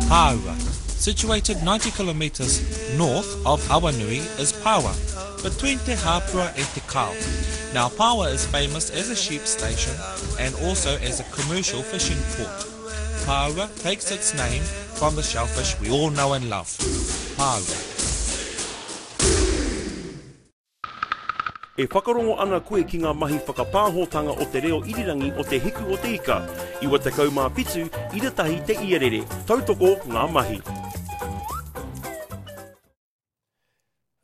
Pāua. Situated 90 kilometres north of Awanui is Pāua, between Te Hāpua and Te Kao. Now Pāua is famous as a sheep station and also as a commercial fishing port. Pāua takes its name from the shellfish we all know and love, pāua. E whakarongo ana koe ki ngā mahi whakapāhotanga o te reo irirangi o Te Hiku o te Ika, 97 ira tahi te iarere, tautoko ngā mahi.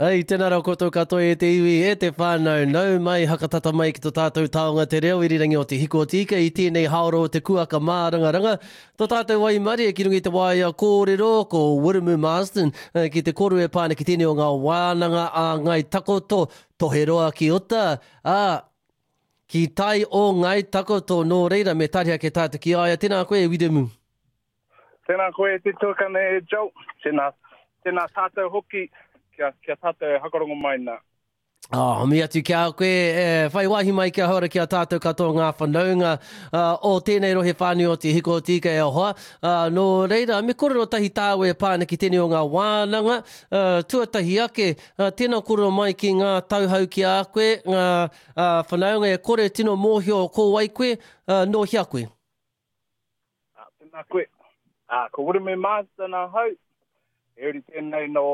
Ei, tēnā rā koutou katoa e te iwi, e te whānau, nau mai, hakatata mai ki to tātou taonga te reo irirangi o Te Hiku o Te Ika i tēnei haora o te kuaka mārangaranga. To tātou waimarie ki runga i te waea kōrero ko Wiremu Marsden ki te kōrero e pā ana ki tēnei o ngā wānanga a Ngāi Takoto, Toheroa ki uta, ā, ki tai o Ngāi Takoto, nō reira me tariha ke tātou ki a ia. Tēnā koe e Wiremu. Tēnā koe e te tuakana e Joel, tēnā, tēnā tātou hoki kia, kia tātou e hakarongo mai nā. Oh, mi atu ki a koe, e, whai wāhi mai kia hora ki a tātou katoa ngā whanaunga uh, o tēnei rohe whānui o Te Hiko o Tīka e hoa. Uh, nō reira, me kōrero tahi tāu e pā ana ki tēnei o ngā wānanga. Uh, tuatahi ake, uh, tēnā kōrero mai ki ngā tauhau ki a koe, ngā uh, whanaunga e kore tino mōhio ko wai koe, uh, nō hea koe. Ā, tēnā koe. Ā, ko Wiremu Marsden ahau, he uri tēnei nō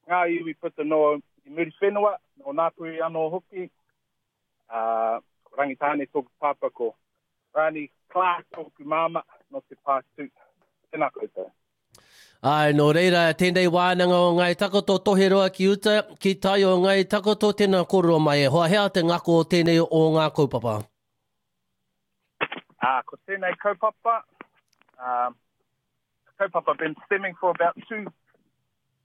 ngā iwi puta noa i Muriwhenua, nō Ngāpuhi anō hoki. Ā, ko Rangitāne tōku pāpā, ko Rani Clark tōku māmā nō Te Pātū. Tēnā koutou. Āe, nō reira, tēnei wānanga o Ngāi Takoto, Toheroa ki uta, ki tai o Ngāi Takoto, tēnā kōrero mai e hoa, he aha te ngako o tēnei o ngā kaupapa? Ā, ko tēnei kaupapa, um, kaupapa been stemming for about two,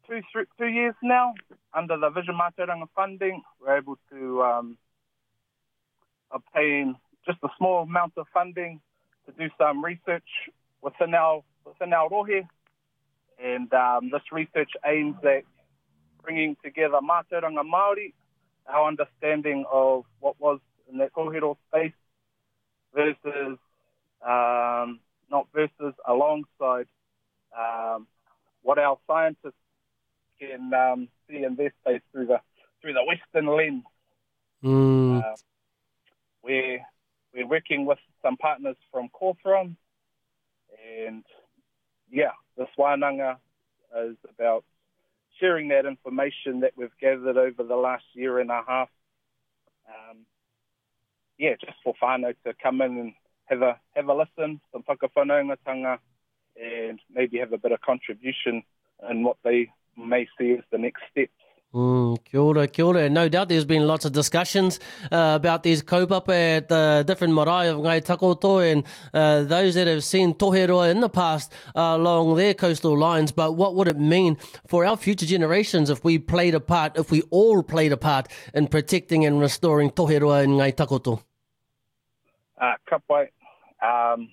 two, three, two years now. Under the Vision Mātauranga funding, we're able to um, obtain just a small amount of funding to do some research within our, within our rohe. And um, this research aims at bringing together mātauranga Māori, our understanding of what was in that kōhero space versus, um, not versus, alongside um, what our scientists can um, see in their space through the, through the Western lens. Mm. Uh, we're, we're working with some partners from Cawthron and yeah, this wānanga is about sharing that information that we've gathered over the last year and a half. Um, yeah, just for whānau to come in and have a, have a listen, some whakawhanaungatanga, and maybe have a bit of contribution in what they may see as the next steps. Mm, kia ora, kia ora. No doubt there's been lots of discussions uh, about these kaupapa at the different marae of Ngai Takoto and uh, those that have seen toheroa in the past uh, along their coastal lines. But what would it mean for our future generations if we played a part, if we all played a part in protecting and restoring toheroa in Ngai Takoto? Uh, ka pai. Um,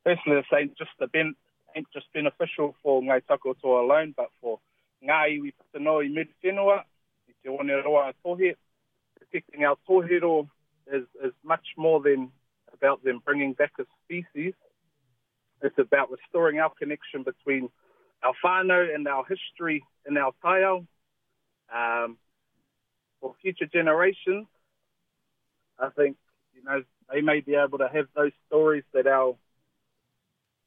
firstly, this ain't just, the ben, ain't just beneficial for Ngai Takoto alone, but for ngā iwi puta noa i Muriwhenua, i Te Oneroa a Tohe. Protecting our tohero is, is much more than about them bringing back a species. It's about restoring our connection between our whānau and our history in our taiao. Um, for future generations, I think, you know, they may be able to have those stories that our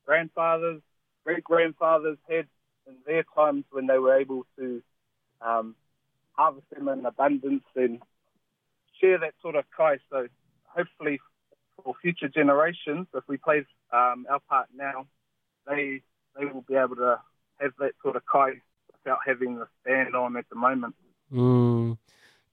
grandfathers, great grandfathers had in their times when they were able to um, harvest them in abundance and share that sort of kai. So hopefully for future generations, if we play um, our part now, they they will be able to have that sort of kai without having the stand on at the moment. Mm.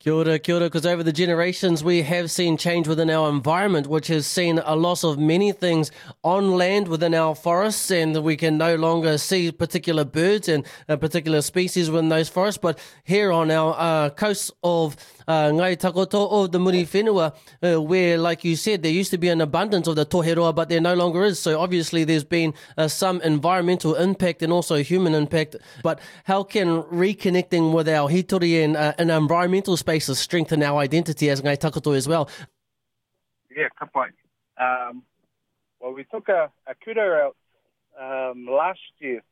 Kia ora, kia ora, because over the generations we have seen change within our environment, which has seen a loss of many things on land within our forests, and we can no longer see particular birds and uh, particular species within those forests. But here on our uh, coasts of uh, Ngai Takoto o the Muri Whenua, uh, where, like you said, there used to be an abundance of the toheroa, but there no longer is. So obviously there's been uh, some environmental impact and also human impact. But how can reconnecting with our hitori and, uh, and environmental spaces strengthen our identity as Ngai Takoto as well? Yeah, ka pai. Um, well, we took a, a kura out um, last year,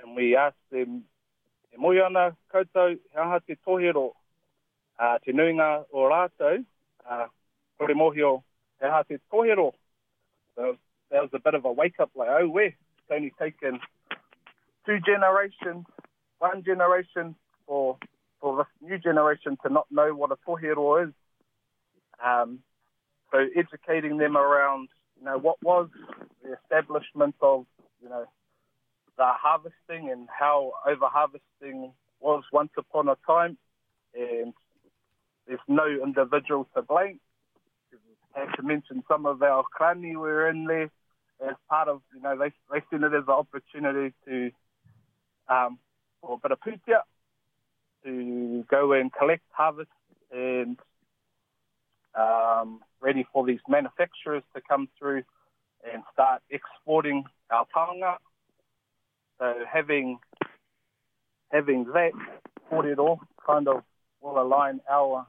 and we asked them, e mōhio ana koutou he aha te tohero, uh, te nuinga o rātou, uh, kore mōhio he aha te tohero. So that was a bit of a wake up, like, oh, we, it's only taken two generations, one generation for, for this new generation to not know what a tohero is. Um, so educating them around, you know, what was the establishment of, you know, the harvesting and how over harvesting was once upon a time, and there's no individual to blame. I have to mention some of our krani were in there as part of, you know, they, they seen it as an opportunity to, um, for a bit of pūtea, to go and collect, harvest, and um, ready for these manufacturers to come through and start exporting our taonga. So having having that kōrero kind of will align our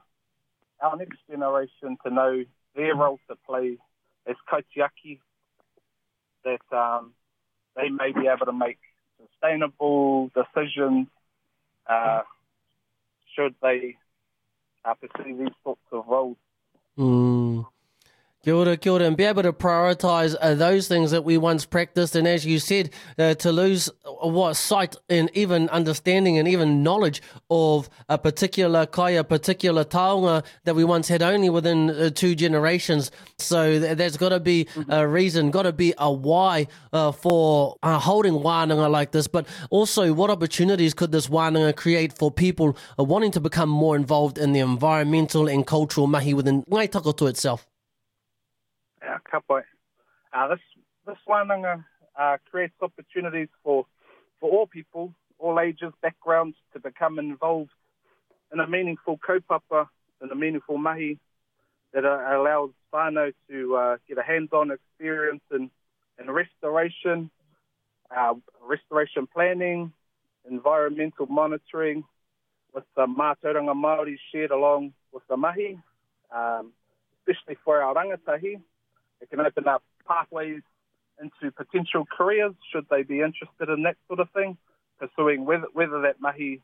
our next generation to know their role to play as kaitiaki, that um, they may be able to make sustainable decisions uh, should they uh, pursue these sorts of roles. Mm. Kia ora, kia ora, and be able to prioritise uh, those things that we once practiced. And as you said, uh, to lose uh, what sight and even understanding and even knowledge of a particular kai, a particular taonga that we once had only within uh, two generations. So th- there's got to be a reason, got to be a why uh, for uh, holding wānanga like this. But also, what opportunities could this wānanga create for people uh, wanting to become more involved in the environmental and cultural mahi within Ngai Takoto itself? Yeah, ka pai. Uh, this, this wānanga uh, creates opportunities for, for all people, all ages, backgrounds, to become involved in a meaningful kaupapa, in a meaningful mahi that uh, allows whānau to uh, get a hands-on experience in, in restoration, uh, restoration planning, environmental monitoring, with the mātauranga Māori shared along with the mahi, um, especially for our rangatahi. It can open up pathways into potential careers should they be interested in that sort of thing, pursuing whether, whether that mahi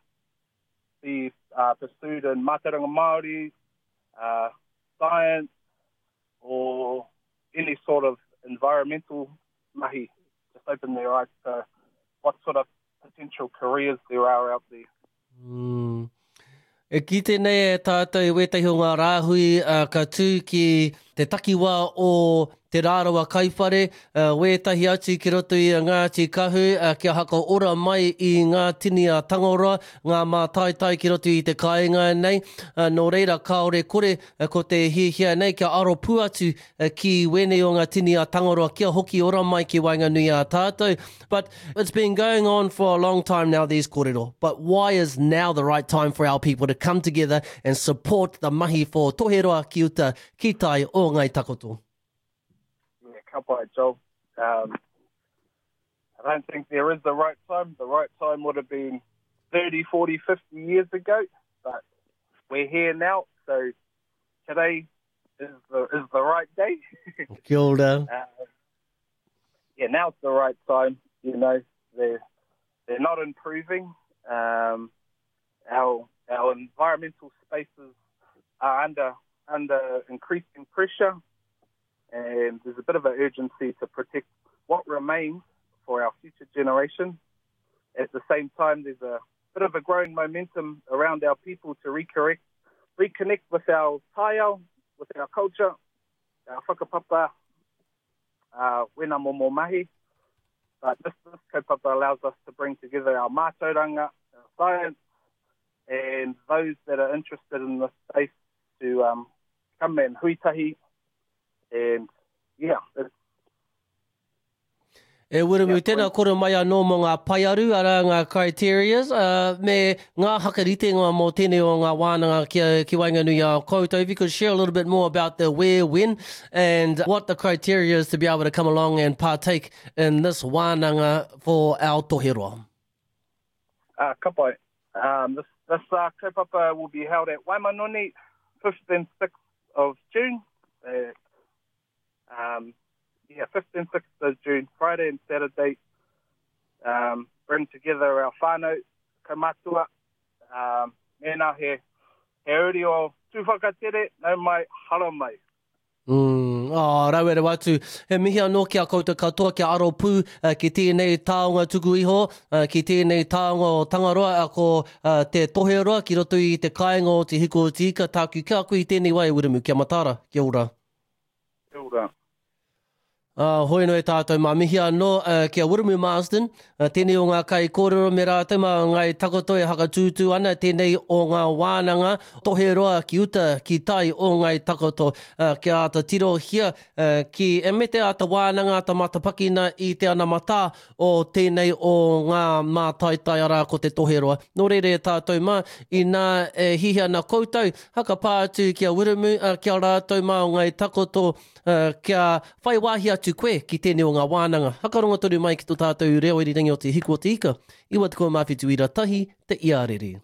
be uh, pursued in mātauranga Māori, uh, science, or any sort of environmental mahi. Just open their eyes to what sort of potential careers there are out there. Mm. E kite nei e tātou i wētahi o ngā rāhui uh, ka tū ki te takiwā o Te Rarawa Kaiwhare, uh, wētahi atu ki roto i a Ngāti Kahu, uh, kia haka ora mai i ngā tini a Tangaroa, ngā mātaitai ki roto i te kāinga nei. Uh, nō reira, kāore kore uh, ko te hiahia nei kia aro pū atu uh, ki wēnei o ngā tini a Tangaroa kia hoki ora mai ki waenganui a tātou. But it's been going on for a long time now, these kōrero. But why is now the right time for our people to come together and support the mahi for Toheroa ki uta ki tai o Ngai Takoto? Yeah, ka pai, Joel. Um, I don't think there is the right time. The right time would have been 30, 40, 50 years ago, but we're here now, so today is the is the right day. Kia ora. Uh, yeah, now's the right time. You know, they're they're not improving. Um, our our environmental spaces are under under increasing pressure, and there's a bit of an urgency to protect what remains for our future generation. At the same time, there's a bit of a growing momentum around our people to recorrect, reconnect with our taiao, with our culture, our whakapapa, uh, wena momo mahi. But this, this kaupapa allows us to bring together our mātauranga, our science, and those that are interested in this space to um, come and huitahi. And yeah, it's E Wiremu, tēnā kore mai anō mō ngā paearu, arā ngā criterias, uh, me ngā hakaritenga mō tēnei o ngā wānanga ki, ki waenganui a koutou. If you could share a little bit more about the where, when, and what the criteria is to be able to come along and partake in this wānanga for our toheroa. Uh, ka pai. Um, this this uh, kaupapa will be held at Waimanoni, 5th and 6th of June. Uh, um, Yeah, 5th and 6th of June, Friday and Saturday. Um, bring together our whānau, kaumatua, um, mēnā he, he uri o Tūwhakatere, nau mai, hara mai. Mm, oh, rawe rawa atu. He mihi anō ki a koutou katoa kia aro pū uh, ki tēnei taonga tuku iho, uh, ki tēnei taonga o Tangaroa, uh, ko uh, te toheroa ki roto i te kāinga o Te Hiku o Te Ika, tāku ki a koe i tēnei wā e Wiremu, kia mataara, kia ora. Kia ora. Ā, hoi anō e tātou mā mihi anō ki a Wiremu Marsden, tēnei o ngā kaikōrero me rātou mā Ngāi Takoto e hakatūtū ana tēnei o ngā wānanga tohe roa ki uta, ki tai o Ngāi Takoto, kia āta tirohia ki, me te āta wānanga, āta matapakina i te anamatā o tēnei o ngā mātaitai arā ko te toheroa. Nō reira e tātou mā, inā e hihi ana koutou, hakapā atu ki a Wiremu, ki a rātou mā o Ngāi Takoto, kia whai wāhi atu koe ki tēnei o ngā wānanga. Hakarongo tonu mai ki tō tātou reo irirangi o Te Hiku o Te Ika, 97 ira tahi te iarere.